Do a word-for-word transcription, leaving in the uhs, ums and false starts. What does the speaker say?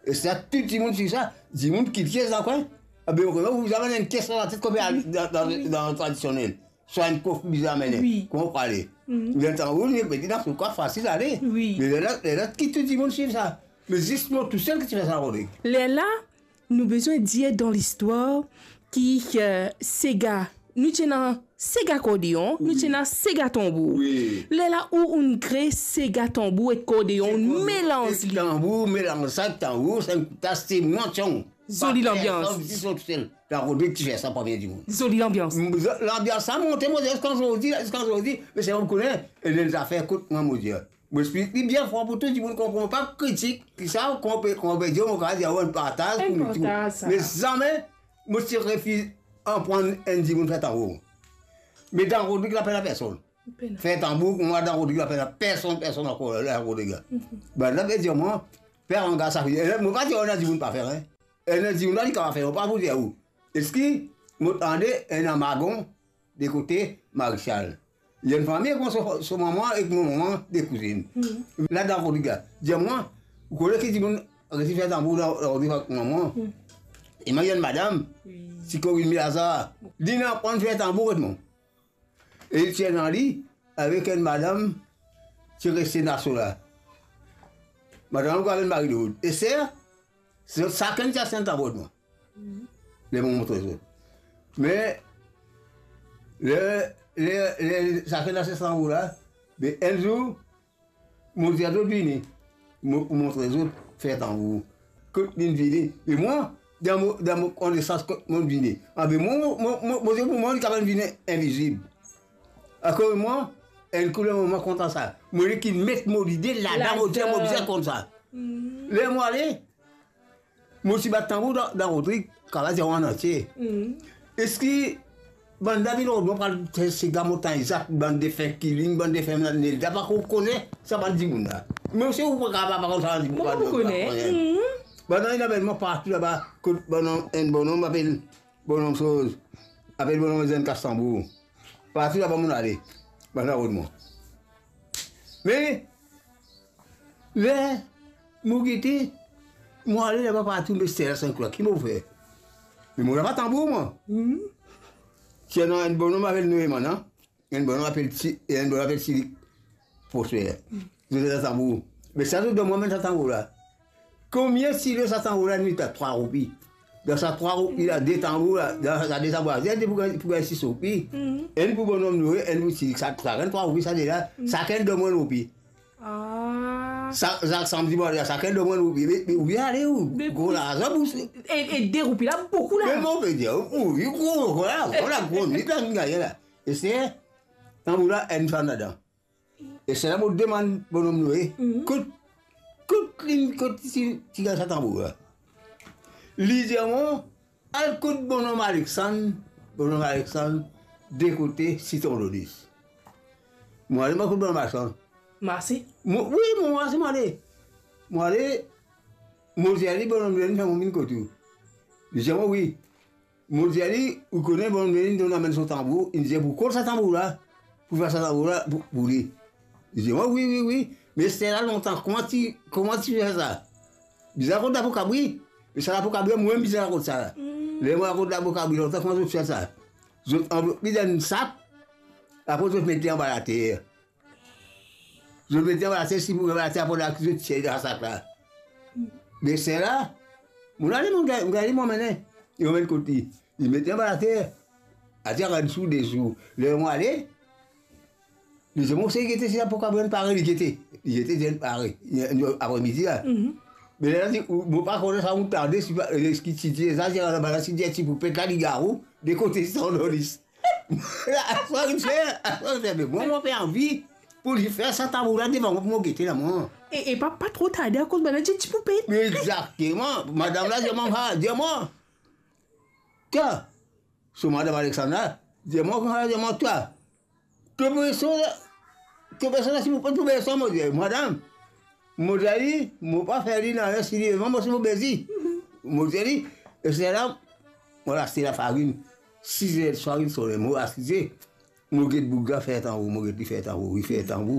E sa, tou dimoun swiv sa, dimoun ki tir sa, kwe. Abe, ou, ou zame ena enn kestion dan latet, kouma al dan, dan, dan tradisionel. Swa enn kof bizin amenn. Wi. Kouma ou prale? Mhm. Li tanbour, li pe dir dan so kwa, fasil ale. Wi. Me lerla, lerla ki tou dimoun swiv sa. Me zis mwa tousel ki ti fer sa, Rodrig. Lerla, nou bizin dir dan listwar ki, eh, sega, nou ti ena sega akordeon, nou ti ena sega tanbour. Wi. Lerla ou, ou'nn kre sega tanbour ek akordeon, ou'nn melanz li. Tanbour, melanz sa ek tanbour, sa enn kout, sa se mwa, tiang. Zoli lanbians. Personn, zis mwa tousel. Dan Rodrig ti fer sa, pa bien dimoun. Zoli lanbians. M-, z-, lanbians sa monte, mo, ziska zordi, ziska zordi, me se mwa ki kone, e ena zafer kot mwa, mo dir. Mo explik li bien fran pou tou dimoun konpran, pa kritik, ki sa, kouma pe, kouma pe dir, mo kapav dir, enn partaz pou nou tou. Enn partaz, sa. Me zame, mo ti refiz aprann enn dimoun fer tanbour. Me dan Rodrig la pena personn. Pena. Fer tanbour, mwa dan Rodrig la pena personn, personn ankor la, Rodrig la. Mhm. Bann la pe dir mwa, fer anga sa, mo pa dir ena dimoun pa fer, en. Ena dimoun la, li kapav fer, mo pa pou dir ou. Eski mo tande ena Magon, de kote Marisal. Li enn fami ek mo, so, so mama ek mo mama, de kouzinn. Mhm. La dan Rodrig la. Dir mwa, ou kone ki dimoun resi fer tanbour dan, dan Rodrig ek mama? Mhm. E mwa, enn madam, wi, ti Corinne Lazare. Li inn aprann fer tanbour ek mwa. E li ti ena li avek enn madam ti reste Naso la. Madam la apel Marie-Lourdes. E ser, zot sakenn ti aste tanbour mwa. Mhm. Ler mo montre zot. Me, ler, ler, ler sakenn aste tanbour la, be enn zour, mo dir zot vini, mo pou montre zot fer tanbour. Kot linn vini? Me mwa, dan mo, dan mo konesans kot mo'nn vini. Abe mwa, mo, mo, mo, mo dir pou mwa, li kapav vini invizib. Akoz mwa, enn kouleur mo, mo kontan sa. Mo, li ki met mo lide ladan, mo dir mo bizin konn sa. Mhm. Ler mo ale, mo ti bat tanbour dan, dan Rodrig, kapav dir mwa antie. Mhm. Eski bann dam inn rod mwa, pral sega Montagne Zak, bann defen Killing, bann defen Nelda, pa konn kone sa bann dimoun la. Me osi ou pa kapav pa konn sa bann dimoun, mo pa konn kone. Mhm. Bann la inn amenn mwa partou laba, kot bann, enn bonom apel bonom soz, apel bonom Zenn Kas Tanbour. Partou laba mo'nn ale, bann la rod mwa. Me ler mo gete, mo ale laba partou, me ser la, sann kouleur, ki mo fer? Me mo napa tanbour mwa. Mhm. Ti ena enn bonom apel Noeman, an? Enn bonom apel Ti-, enn bonom apel Tilik Prosper. Mhm. Zot ena tanbour. Me sa zot donn mwa, amenn sa tanbour la. Konbien ti lo sa tanbour la? Enn ti trwa roupi. Dan sa trwa roupi la, de tanbour la, dan sa de tanbour la, enn pou gagn, pou gagn sis roupi. Mhm. Enn pou bonom Noe, enn pou Tilik. Sa, sa gagn trwa roupi, sa de la. Mhm. Sakenn donn mwa enn roupi. Ah. Sa, sa samdi mwa, sakenn donn mwa enn roupi. Me, me, ou ale ou, me gro larzan pou se. E, e de roupi la, boukou la. Me mo pe dir, ou, ou, gro, gro la, gro la, gro, li gagn la. E se, tanbour la, enn fann ladan. E se la mo demann bonom Noe, mhm, kot, kot li, kot ti, ti gagn sa tanbour la. Li dir mwa, al kot bonom Alexandre, bonom Alexandre, de kote Sitron Donis. Mo ale, mo kot bonom Alexandre. Marse? Mo, wi, mo marse, mo ale. Mo ale, mo dir li, bonom Noe, fer mo vinn kot ou. Li dir mwa, wi. Mo dir li, ou kone, bonom Noe inn donn, amenn so tanbour, inn dir pou kol sa tanbour la, pou fer sa tanbour la pou, pou li. Li dir mwa, wi, wi, wi. Me se la lontan, kouma ti, kouma ti fer sa? Bizin rakont lapo kabri. Me sa lapo kabri, mwa mem bizin rakont sa la. Mm. Ler mo rakont lapo kabri, lontan kouma zot fer sa? Zot anvlop li dan enn sak, apre zot met li anba later. Zot met li anba later, si pou anba later, apre la, zot tir li dan sa sak la. Me ser la, mo ale, mo gagn, mo gagn li, mo amenn li. Li amenn kot li. Li met li anba later. Atir enn zour, de zour. Ler mo ale, li dir mwa, se gete, si lapo kabri inn pare, li gete. Li gete, li inn pare. Li, li, apre midi la. Mhm. Me la, li, mo pa kone sa, mo tande, si pa, eh, ki ti dir sa, si anba la, si dir ti poupet la, li gagn ou, de kote Sitron Donis. Aswar inn fer, aswar inn fer, me mwa, mo pe anvi pou li fer sa tanbour la devan mwa pou mo gete la, mwa. E, e pa, pa tro tarde, akoz bann la ti, ti poupet. Egzakteman. Madam la dir mwa, ha, dir mwa. Twa, so madam Alexandre la, dir mwa, ha, dir mwa, twa. To pe sot la, to pe sot la, si mo pa pou beson, mo dir, madam, mo dir li, mo pa fer li nanye si li devan mwa, si mo bezi. Mo dir li, e se la, mo al aste lafarinn. Siz er diswar inn sone, mo asize, mo get boug la fer tanbour, mo get li fer tanbour, li fer tanbour.